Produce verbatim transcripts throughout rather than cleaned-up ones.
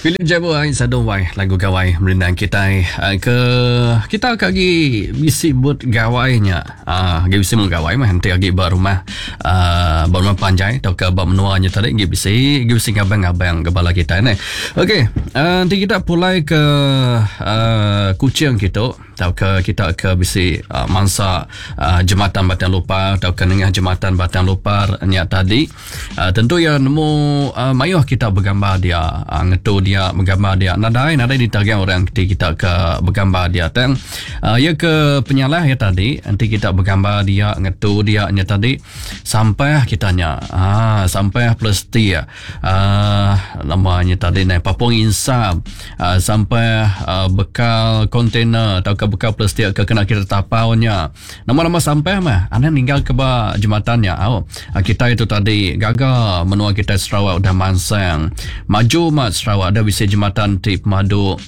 Philip Jabu ai sadu wai lagu gawai merindang kitai ke kita ke agi bisi but gawainya. Ah, agi bisi mun gawai mah nanti agi ba rumah ah, ba rumah panjai atau ke ba menua nya tadi agi bisi agi bisi ngabang-ngabang ke bala kitai ne. Okey, uh, nanti kita pulai ke uh, Kuching kitu atau ke kita ke bisi uh, mangsa uh, jematan Batang Lupar atau ke nengah jematan Batang Lupar nya tadi, uh, tentu ya nemu uh, mayuh kita bergambar dia, uh, ngetu dia bergambar dia nadai nadai ditagang orang ketika kita ke bergambar dia tang uh, ya ke penyalah ya tadi nanti kita bergambar dia ngetu dia nya tadi sampai kita nya ah sampai plastik ah namanya tadi nai papung insap uh, sampai uh, bekal kontainer atau ke bekal plastik ke kena kita tapaunya. Nama-nama sampai mah anda ninggal ke ba jembatannya. Au. Kita itu tadi gaga menua kita Sarawak udah mansang. Maju mat Sarawak ada bisi jembatan ti pemadu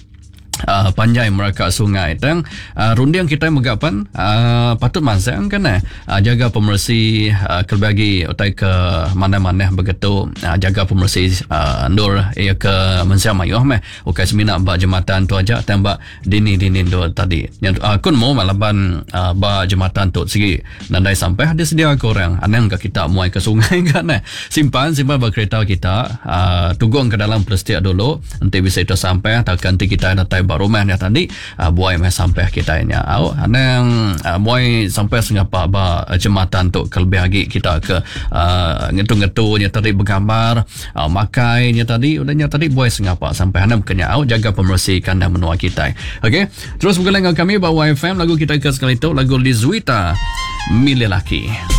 Uh, panjai meraka sungai tang uh, runding kita megapan uh, patut mansang kan eh uh, jaga pemersi uh, kelebih lagi utai ke mana-mana begitu uh, jaga pemersi uh, ndur ia ke mensia mayuh meh ukai semina ba jembatan tu aja tang ba dini-dini ndur tadi yang uh, kun mo malaban uh, ba jembatan tu segi nandai sampai ada sedia ke orang anang ke kita muai ke sungai kan eh simpan simpan ba kereta kita uh, tugong ke dalam plastik dulu nanti bisa itu sampai atau nanti kita datai ba rumah dia tadi uh, buai mai sampai kita nya au anang uh, buai sampai sengapa ba uh, jembatan tu kelebih lagi kita ke uh, ngetu-ngetu nya tadi bergambar uh, makai nya tadi udah nya tadi buai sengapa sampai anam kenya au jaga pemersi kandang menua kita. Okey, terus bergulai dengan kami ba Y F M lagu kita ke sekali tu lagu Lizuita Milih Laki.